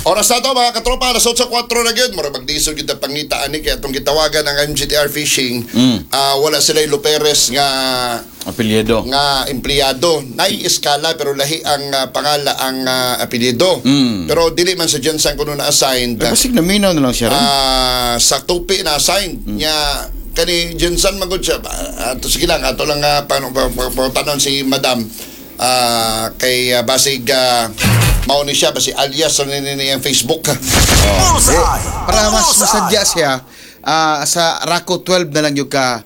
Oras na to, mga katropa, alas 8:04 na gyud. Mura magdisod gyud ang pangita ani kay atong gitawagan ang MGTR Fishing. Ah, wala sila Luperes nga Apelyido. Nga empleyado. Nai-eskala pero lahi ang pangala ang apelyido. Pero dili man sa GenSan kuno na assigned. Ay, basig naminaw na lang siya ron. Ah, sa tupi na assigned nya kani GenSan magud siya. Ato sige lang, ato lang paano tanon si Madam kay basig mao ni siya basi alias sa ni ni ang Facebook. Bullseye! Para mas Bullseye! masadya siya, sa Rako 12 na lang yung ka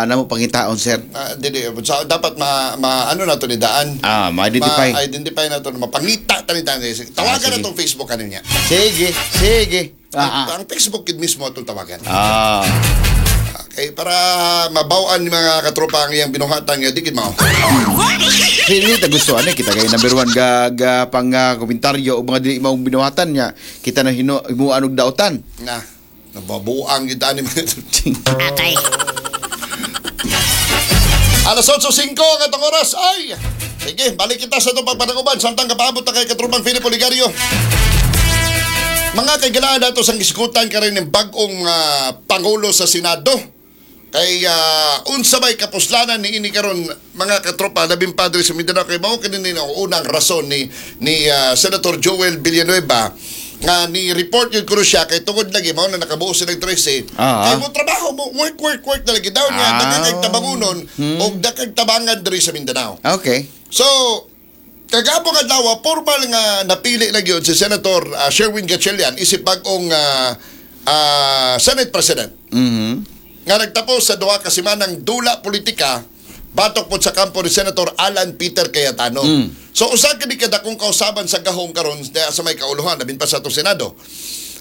namo pangitaon, sir. Dili so, dapat ma ano na to ni daan. Ma-identify. Ma-identify na to, mapangita ta ni daan. Tawagan Ah, sige. na tong Facebook ano niya. Sige, sige. Ang Facebook gid mismo atong tawagan. Okay, para mabawaan ni mga katropa ang iyang binuhatan nga di gid mao. Hindi ta gusto ani kita kay number one ga, ga pang komentaryo o mga dili maong binuhatan niya kita na hino himuan og dautan. Na, nababuang gid ani mga Atay. Alas 8:05 ang atong oras. Ay! Sige, balik kita sa itong pagpanaguban. Samtang kapaabot na kay Katrupang Philip Oligario. Mga kaigalaan nato sa gisgutan ka rin ng bagong Pangulo sa Senado. Kay unsa may kapuslanan ni ini karon, mga katropa, labing padre sa Mindanao, kay mao kini ni ang unang rason ni Senator Joel Villanueva nga ni report yun kuno siya kay tungod lagi mao na nakabuo sila ng 13 kay mo trabaho mo, work, work, work na lagi daw niya, daghan kay tabangunon og daghan tabangan diri sa Mindanao. So, kagapong adlaw, formal nga napili na gyud si Senator Sherwin Gatchalian isip bag-ong Senate President. Nga nagtapos sa 2 ka semanang dula politika batok pod sa kampo ni Senator Alan Peter Cayetano. So usa kini kadakong kausaban sa gahom karon sa may kauluhan labin pa sa atong Senado.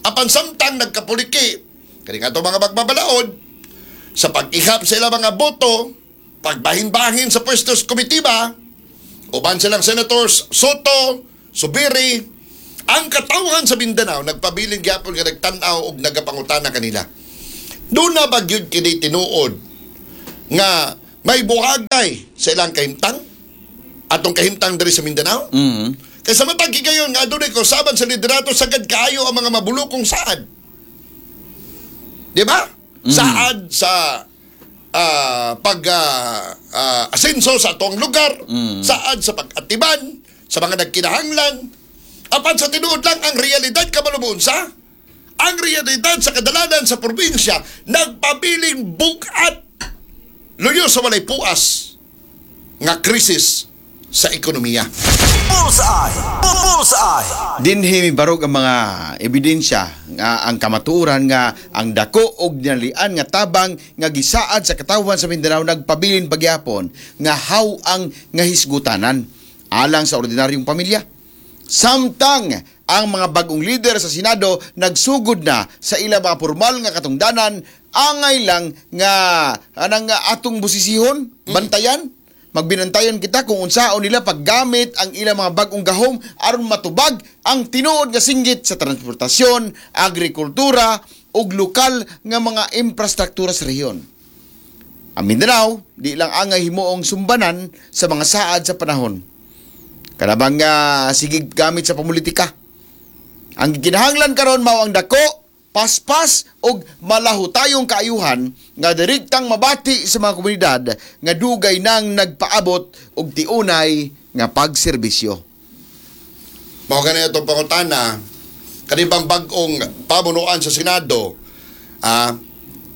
Apan samtang nagkapuliki kini nga mga magbabalaod sa pag-ihap sa ilang mga boto, pagbahin-bahin sa pwestos komitiba, uban silang Senators Sotto, Zubiri, ang katawhan sa Mindanao nagpabilin gyapon nga nagtan-aw og nagapangutana kanila. Doon na ba gyud kini tinuod nga may buhagay sa ilang kahimtang? Atong kahimtang diri sa Mindanao? Kay sa matag gayon nga adunay kausaban sa liderato, sagad kaayo ang mga mabulukong saad. Di ba? Saad sa pag asenso sa atong lugar, saad sa pag-atiman sa mga nagkinahanglan. Apan sa tinuod lang ang realidad kamalubon sa ang realidad sa kadalanan sa probinsya nagpabiling bugat luyo sa walay puas nga krisis sa ekonomiya. Bullseye! Bullseye! Dinhi mibarog ang mga ebidensya nga ang kamatuoran nga ang dako og dinalian nga tabang nga gisaad sa katawhan sa Mindanao nagpabilin pagyapon nga how ang nga hisgutanan alang sa ordinaryong pamilya. Samtang ang mga bagong lider sa Senado nagsugod na sa ilang mga formal nga katungdanan, angay lang nga anang atong busisihon, bantayan, magbinantayon kita kung unsaon nila paggamit ang ilang mga bagong gahom aron matubag ang tinuod nga singgit sa transportasyon, agrikultura ug lokal nga mga infrastruktura sa rehiyon. Ang Mindanao, di lang angay himuong sumbanan sa mga saad sa panahon. Kanabang nga sige gamit sa pamulitika. Ang kinahanglan karon mao ang dako, paspas og malahutayong kaayuhan nga direktang mabati sa mga komunidad nga dugay nang nagpaabot og tiunay nga pagserbisyo. Mao gani itong pangutana, kanibang bag-ong pamunuan sa Senado,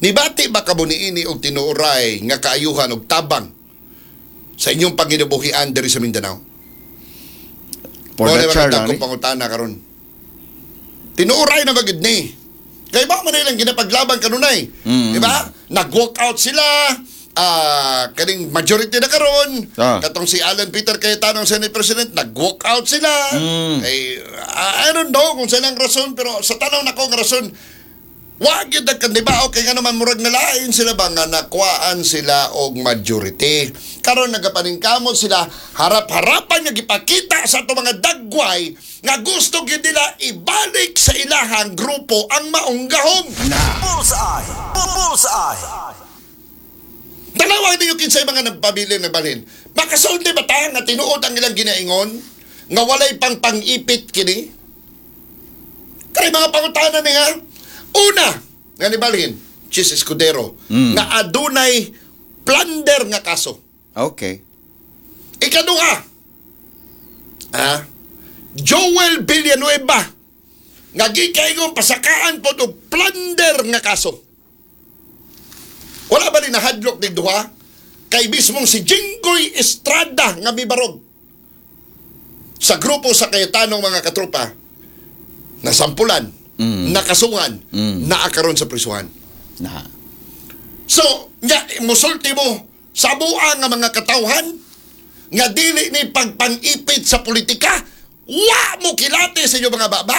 nibati ba kamo niini og tinuoray nga kaayuhan og tabang sa inyong panginabuhian diri sa Mindanao? For Mao the ni mga char, dagkong ani? pangutana karon. Tinuoray na ba gid ni? Kay ba man ilang ginapaglaban kanunay? Di ba? Nag-walk out sila, kaning majority na karon. Katong si Alan Peter Cayetano ang Senate President, nag-walk out sila. Kay, I don't know kung sa ilang rason, pero sa tanaw nako nga rason, wa gyud nagkandiba okay nga naman murag nalain sila ba nga nakuhaan sila og majority. Karon nagapaningkamot sila harap-harapan nga gipakita sa ato mga dagway nga gusto gyud nila ibalik sa ilahang grupo ang maong gahom. Bullseye! Bullseye! Tanawa ninyo kinsay mga nagpabilin na balhin. Makasulti ba ta nga tinuod ang ilang ginaingon nga walay pang pang-ipit kini? Kay mga pangutana niya. Una, nga nibalhin, Chis Escudero, nga adunay plunder nga kaso. Ikaduha, Joel Villanueva, nga gikaigong pasakaan po og plunder nga kaso. Wala ba ni nahadlok ni duha? Kay mismong si Jinggoy Estrada nga mibarog sa grupo sa Cayetano, mga katropa, nasampulan, nakasungan, naakaron sa prisuhan. Na. So, nga musulti mo sa buang nga mga katawhan nga dili ni pagpangipit sa politika, wa mo kilati sa inyong mga baba.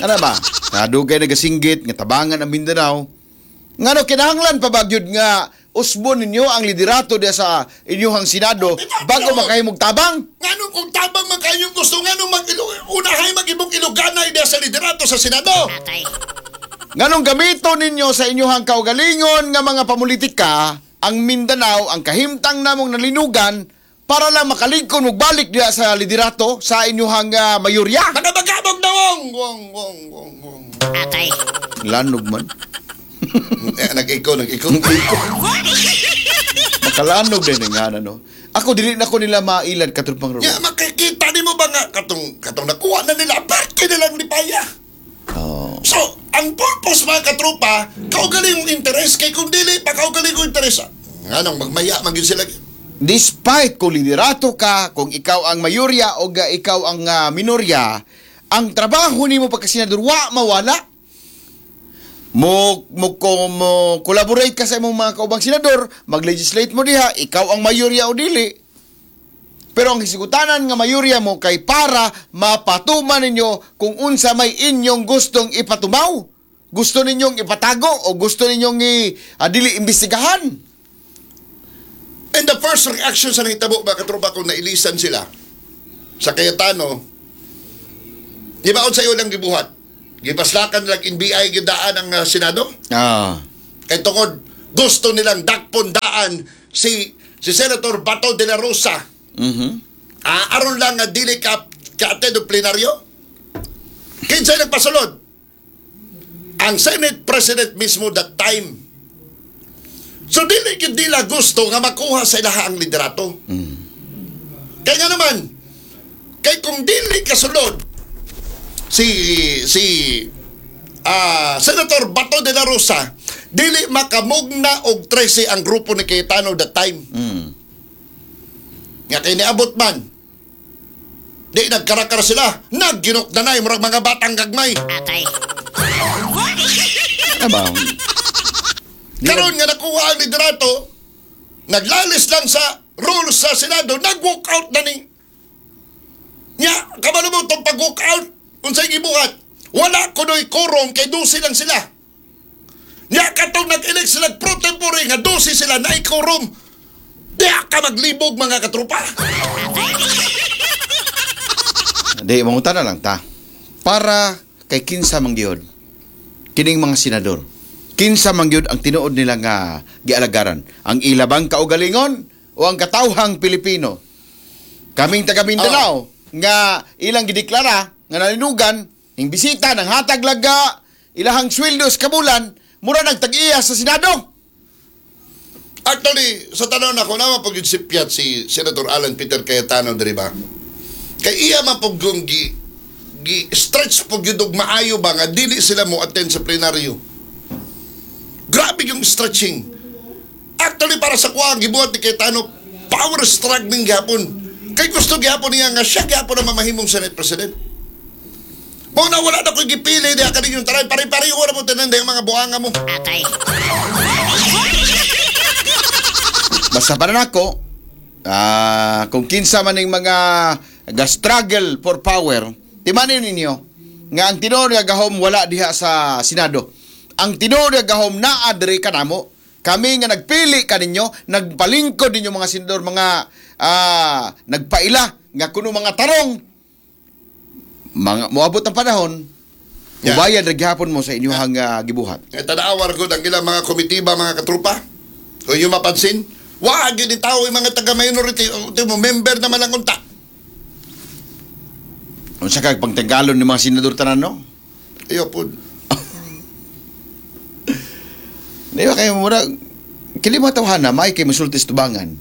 Ano ba? Nadugay nagasinggit nga tabangan ang Mindanao. Ngano kinahanglan pa ba gyud nga usbon ninyo ang liderato diya sa inyong Senado bago makahimog tabang? Ngano kung tabang man kayong gusto, ngano mag unahay mag-ibong Iloganay diya sa liderato sa Senado? Nganong gamito ninyo sa inyong kaugalingon nga mga pamulitika ang Mindanao, ang kahimtang namong nalinugan para lang makalingkon og balik diya sa liderato sa inyong mayorya. Mga bagabog na wong! Wong, wong, wong, wong. Lanog man. Eh, nag-iko, nag-iko. Makalanog din nga no. Ako dili na ko nila mailad, katrupang Ruben. Ya, makikita nimo ba nga katong katong nakuha na nila, parte nilang lipaya. Oh. So, ang purpose, mga katropa, kaugalingong interes, kay kung dili pa kaugalingong interes, nganong magmaya man gyud sila. Despite kung liderato ka, kung ikaw ang mayorya o ikaw ang minorya, ang trabaho nimo pagka senador wa mawala. Mo collaborate ka sa imong mga kaubang senador, mag-legislate mo diha, ikaw ang mayorya o dili. Pero ang hisigutanan nga mayorya mo kay para mapatuman ninyo kung unsa may inyong gustong ipatumaw. Gusto ninyong ipatago o gusto ninyong dili imbestigahan. And the first reaction sa nahitabo, mga katropa, kung nailisan sila sa Cayetano, di ba sa iyo lang gibuhat? Gipaslakan lang NBI gidaan ang Senado? Kay tungod gusto nilang dakpon daan si si Senator Bato de la Rosa. Aron lang nga dili ka ka-attend og plenaryo. Kinsay nagpasulod? Ang Senate President mismo that time. So dili gyud nila gusto nga makuha sa ilaha ang liderato. Kaya nga naman, kay kung dili kasulod si si Senator Bato de la Rosa, dili makamugna og 13 ang grupo ni Cayetano that time. Nga kay niabot man, di nagkarakara sila, nagginok na murag mga batang gagmay. Ano ba? Karon nga nakuha ang liderato, naglalis lang sa rules sa Senado, nag-walk out na ni. Nya, kabalo mo itong pag-walk out, unsay gibuhat? Wala kuno'y quorum kay 12 lang sila. Nya, katong nag-elect sila pro tempore nga 12 sila na quorum. Di ka maglibog, mga katropa. Di, mangutana lang ta. Para kay kinsa man gyud kining mga senador? Kinsa man gyud ang tinuod nila nga gialagaran? Ang ilabang kaugalingon o ang katawhang Pilipino? Kaming taga Mindanao nga ilang gideklara nga nalinugan, ing bisita ng hatag laga ilahang sweldo sa kabulan, mura nagtag-iya sa Senado. Actually, sa tanaw na ko, naman pag sipyat si Senator Alan Peter Cayetano, diri ba? Kay iya man pag yung gi stretch pag yun og maayo ba nga dili sila mo attend sa plenaryo. Grabe yung stretching. Actually, para sa kuha, ang gibuhat ni Cayetano, power struggling gyapon. Kay gusto gyapon niya nga siya gyapon ang mamahimong Senate President. Mo na wala na ko'y gipili diha kaninyong tanan. Pare-pareho na mo tanan yung mga buhanga mo. Basta para nako, kung kinsa man ning mga ga-struggle for power, timanin ninyo nga ang tinuod nga gahom wala diha sa Senado. Ang tinuod nga gahom naa diri kanamo. Kami nga nagpili kaninyo, nagpalingkod ninyo mga senador, mga nagpaila nga kuno mga tarong mga moabot ang panahon, mubayad ra gihapon mo sa inyong gibuhat. Nga tanawar ko ang ilang mga komitiba, mga katrupa. Kung yung mapansin, wag yun tao yung mga taga-minority, o, mo, member naman ang unta. Unsa kag pagtagalon ni mga senador tanan, no? Iyo po. Di ba kayo mura kini mga tawhana may kay musulti sa tubangan.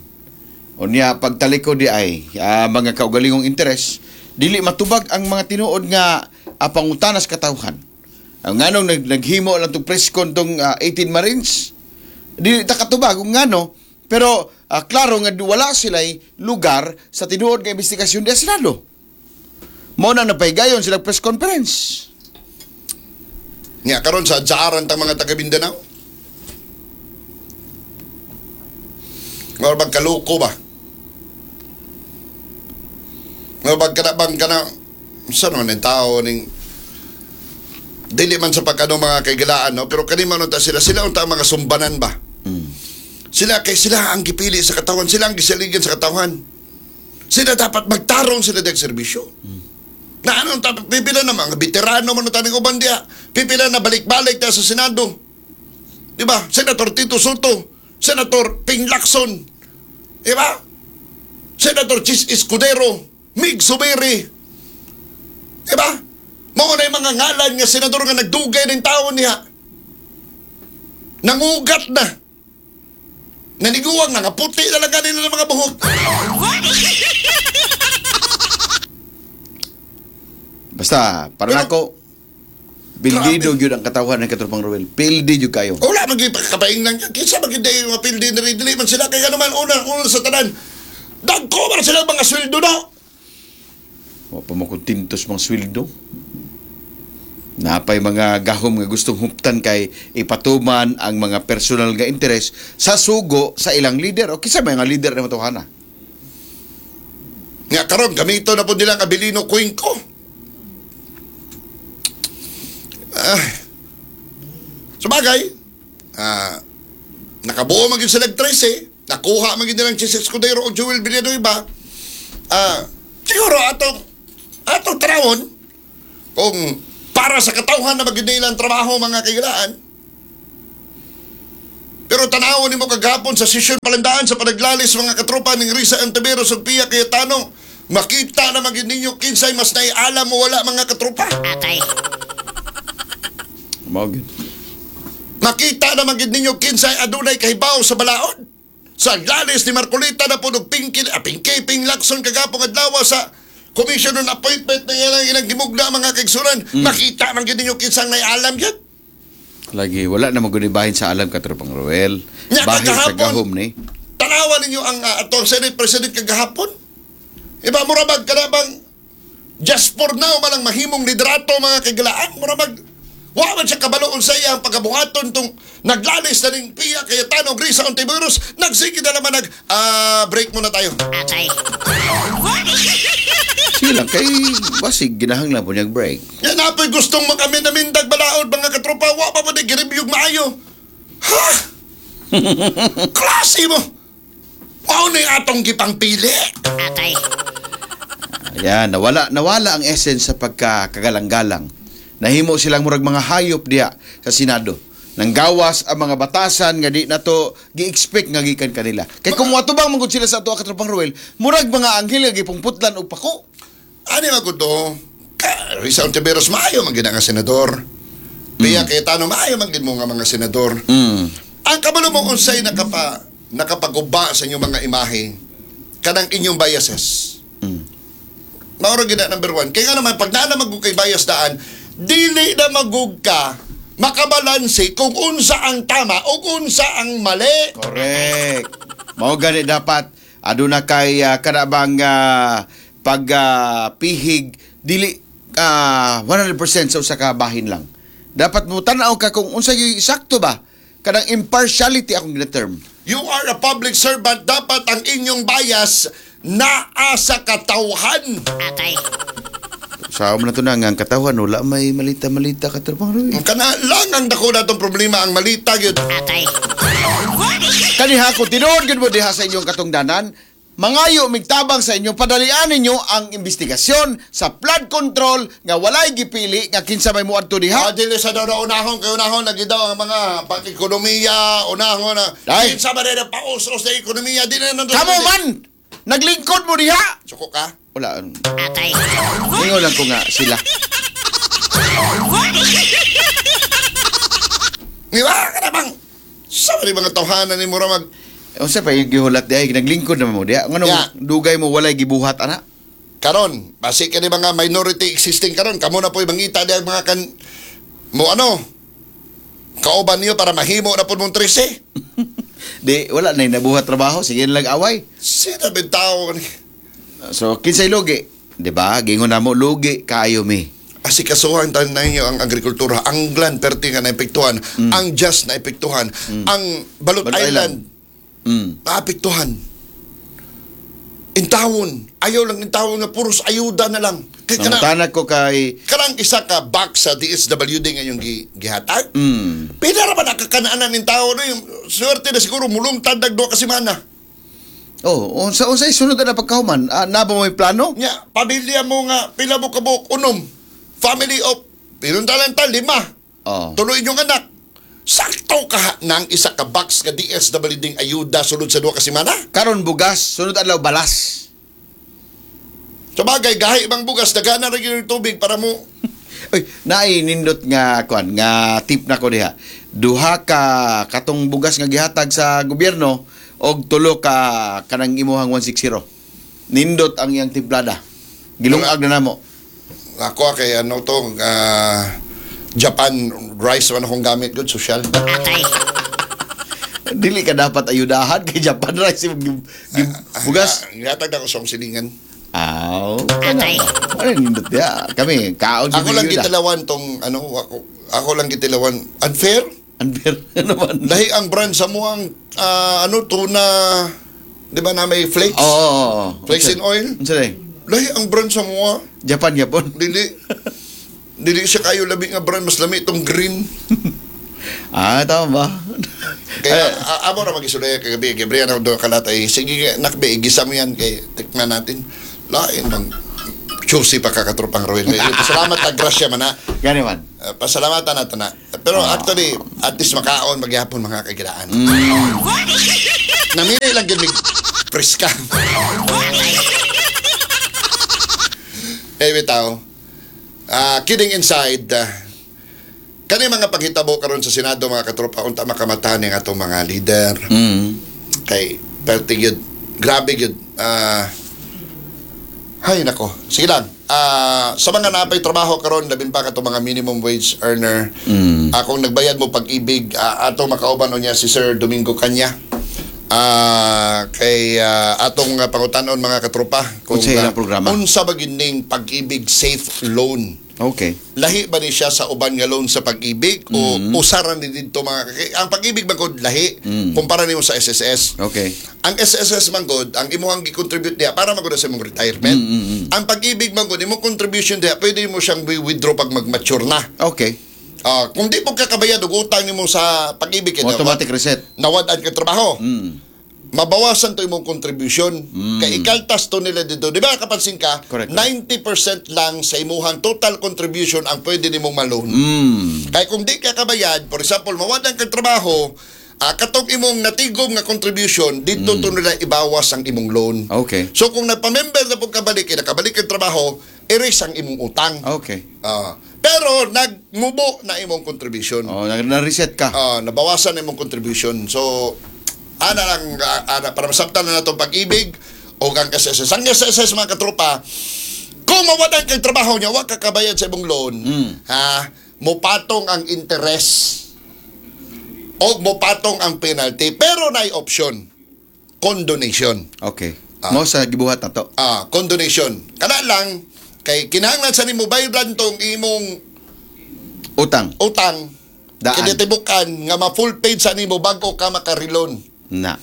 Unya pagtalikod di ay mga kaugalingong interes dili matubag ang mga tinuod nga pangutanas katawhan. Ang nganong naghimo lang tong press con tong 18 Marines, dili ta katubag kung ngano, pero klaro nga wala sila'y lugar sa tinuod nga investigasyon di Senado. Mao na napahigayon sila press conference. Nga karon sa jaaran tang mga taga Mindanao. Nga bang kaloko ba? Nga bang kana bang kana saan man ang tao ning dili man sa pagkano mga kaigalaan, no, pero kani man unta sila sila unta ang mga sumbanan ba? Sila kay sila ang gipili sa katawan, sila ang gisaligan sa katawan. Sila dapat magtarong sila dag serbisyo. Na ano, pipila na mga veterano man taning uban diha. Pipila na balik-balik ta sa Senado. Di ba? Senator Tito Soto, Senator Ping Lacson, di ba? Senator Chis Escudero, Mig Zubiri. Di ba? Mao na yung mga ngalan nga senador nga nagdugay ng taon niya. Nangugat na. Naniguwang na, nga puti na lang kanila ng mga buhok. Basta, para Pero- nako, pildido gyud ang katawhan ng katropang Ruel. Pildi gyud kayo. Wala man gyud kapaing lang. Kinsa man gyud yung mga pildi na rin. Dili man sila kay ano man una una sa tanan. Dagko man sila mga sweldo na. Wa pa mo kontentos mga sweldo. Napay mga gahom nga gustong huptan kay ipatuman ang mga personal nga interes sa sugo sa ilang leader. O kinsa may nga leader na matuhana. Nga karon gamito na po nila ang Abilino Cuenco. Ah. Sabagay, nakabuo man gyud sila og 13, nakuha man gyud nilang Chis Escudero o Joel Villanueva. Siguro atong atong tanawon kung para sa katawhan na magyud nila ang trabaho, mga kailaan. Pero tanawon nimo kagahapon sa session palandaan sa panaglalis, mga katropa, ning Risa Ontiveros ug Pia Cayetano, makita na magyud ninyo kinsay mas naialam mo wala, mga katropa. Mao gyud. Makita na magyud ninyo kinsay adunay kahibaw sa balaod. Sa aglalis ni Marcoleta na po Pinky, Pinky Ping Lacson kagapong adlaw sa Commission on Appointment na ilang ilang gimugna, mga kaigsunan, makita man gyud ninyo kinsang naialam yun. Lagi wala na magud bahin sa alam, katropang Ruel. Nya, Bahin sa kagahapon. gahom ni. Tanawa ninyo ang atong Senate President kagahapon. Iba mura bag kana bang just for now malang mahimong liderato, mga kagalaan, mura bag wa man siya kabalo unsa iya ang pagabuhaton tong naglalis na ning Pia Cayetano, Risa Ontiveros, nagsige na naman nag break muna tayo. Sige lang kay basig ginahanglan po niyang break. Yan apoy gustong makamin-amindag balaod, mga katropa, wa pa mo di gireview maayo. Ha? Klase mo. Mao ni atong gipangpili. Ayan, nawala nawala ang essence sa pagkakagalang-galang. Nahimo silang murag mga hayop diha sa Senado. Nanggawas ang mga batasan nga di nato gi-expect nga gikan kanila. Kay kung moatubang man gud sila sa ato, katropang Ruel, murag mga anghel nga gipungputlan og pako. Ani man gud to? Ka Risa Ontiveros maayo man gid nga senador. Pia Cayetano maayo man gid mo nga mga senador. Ang kabalo mo unsay nakapaguba sa inyong mga imahe kanang inyong biases. Mao ra gid na number one. Kaya nga naman pag naa na magug kay bias daan, dili na magug ka makabalanse kung unsa ang tama o unsa ang mali. Correct. Mao gani dapat aduna kay kanabang pag pihig dili 100% sa usa ka bahin lang. Dapat mo tan-aw ka kung unsa gyud sakto ba, kanang impartiality akong gina-term. You are a public servant, dapat ang inyong bias naa sa katawhan. Sa na to na nga ang katawan wala may malita-malita ka tropang Ruel. Kana lang ang dako natong problema, ang malita gyud. Kaniha ko tinuod gyud mo diha sa inyong katungdanan, mangayo migtabang sa inyo, padalian ninyo ang investigasyon sa flood control nga walay gipili nga kinsa may moadto diha. Ah, dili sa daw na unahon kay unahon lagi daw ang mga pag-ekonomiya, unahon na. Ay. Kinsa ba rin ang paus-us na ekonomiya, di na nandun. Kamo man! Naglingkod mo diha. Suko ka? Wala. Ingon lang ko nga sila. Di ba? Kana bang? Sa ni mga tawhanan ni mura mag Unsa pa yung gihulat diha naglingkod naman mo diha. Ngano Ya. dugay mo walay gibuhat ana? Karon, basi kini mga minority existing karon, kamo na po'y mangita diha mga kan mo ano kauban niyo para mahimo na pud mong 13. Di wala na nabuhat trabaho, sige lang away. Sino bitaw ni? So kinsay lugi, di ba? Gingon na mo lugi kaayo mi. Asikasuhan tanan ninyo ang agrikultura, ang gland perti nga naepektuhan, ang just naepektuhan, ang Balut, Balut Island, Island. Naapektuhan. Intawon, ayaw lang intawon nga puros ayuda na lang. Kay kana Nangutana ko kay kanang isa ka box sa DSWD nga yung gihatag. Pila ra ba nakakanaanan ning tao no yung swerte na siguro mulungtad dag duha ka semana. Oh, unsa unsay sunod na pagkahuman? Ah, na ba mo'y plano? Nya, pamilya mo nga pila mo kabuok unom. Family of pinuntalan ta lima. Oh. Tuloy inyong anak. Sakto ka ng isa ka box nga DSWD ng ayuda sulod sa duha ka semana. Karon bugas, sunod adlaw balas. Sa bagay, gahi bang bugas, dagana ra gyud yung tubig para mo. Uy, naay nindot nga kuan nga tip na ko diha. Duha ka katong bugas nga gihatag sa gobyerno og tulo ka kanang imuhang 160. Nindot ang iyang timplada. Gilungag na namo. Ako kay ano to, Japan rice man akong gamit good social. Dili ka dapat ayudahan kay Japan rice imong bugas. Gihatag na ko sa akong silingan. Aw. Ano nindot diha? Kami kaon Ako lang ayuda. gitilawan tong ano ako lang gitilawan unfair. Unfair naman. Lahi ang brand sa muang ano tuna, di ba na may flakes? Oo. Oo, oo. Flakes in oil. Unsa day? Lahi ang brand sa mua. Japan yapon. Dili dili siya kayo labi nga brand, mas lami itong green. Ah, tama ba? Kaya amo ra magisulay kagabi, Gabriel ako doon kalatay. Sige nakbe igisa mo yan kay tikman natin. Lain bang choosy pa kakatropang Ruel. Pasalamat ta grasya man ha. Gani man. Pasalamatan nato na. Pero actually, at least makaon maghapon mga kagilaan. Namili lang gyud mig preska. Eh bitaw. Kidding inside, kani mga paghitabo karon sa Senado mga katropa unta makamata ni atong mga leader. Kay perti gyud, grabe gyud. Hay nako. Sige lang. Sa mga napay trabaho karon labin pa katong mga minimum wage earner. Akong nagbayad mo Pag-ibig, atong makauban niya si Sir Domingo Kanya. Kay atong pangutanon mga katropa kung Unsa ilang programa? Unsa ba gyud ning Pag-ibig Safe Loan? Okay. Lahi ba ni siya sa uban nga loan sa Pag-ibig o usaran ni didto mga ang Pag-ibig man gud lahi kumpara nimo sa SSS. Ang SSS man gud, ang imuhang gi-contribute diha para man gud sa imong retirement. Ang Pag-ibig man gud, imong contribution diha pwede mo siyang withdraw pag mag-mature na. Kung di mo kakabayad og utang nimo sa Pag-ibig kay Automatic reset. Nawad-an ka trabaho. Mabawasan to imong contribution. Kay ikaltas to nila dito. Di ba kapansin ka? Correct. 90% lang sa imuhang total contribution ang pwede nimong ma-loan. Kay kung di ka kabayad, for example, mawadan kang trabaho, katong imong natigom nga contribution, dito to nila ibawas ang imong loan. So kung nagpa-member na pong kabalik, eh, nakabalik kang trabaho, erase ang imong utang. Pero nagmubo na imong contribution. Oh, na-reset ka. Nabawasan na imong contribution. So, ana lang, ana, para masabtan na natong Pag-ibig o ang SSS. Ang SSS mga katropa, kung mawadan kang trabaho niya, wa ka kabayad sa imong loan, ha, mupatong ang interest o mupatong ang penalty. Pero naay option, condonation. Mo sa gibuhat na to. Condonation. Kana lang, kay kinahanglan sa nimo bayran tong imong Utang. Utang. Daan. Kinitibukan nga ma-full paid sa nimo bago ka makarilon. Na.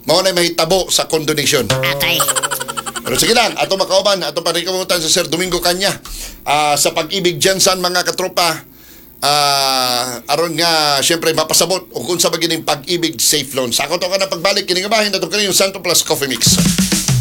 Mao na mahitabo sa condonation. Pero sige lang, ato makauban, ato parikamutan sa Sir Domingo Kanya. Sa Pag-ibig Jensen mga katropa, aron nga siyempre mapasabot og unsa ba gining Pag-ibig Safe Loan. Sa to ka na pagbalik kini nga bahin ato kini yung Santo Plus Coffee Mix.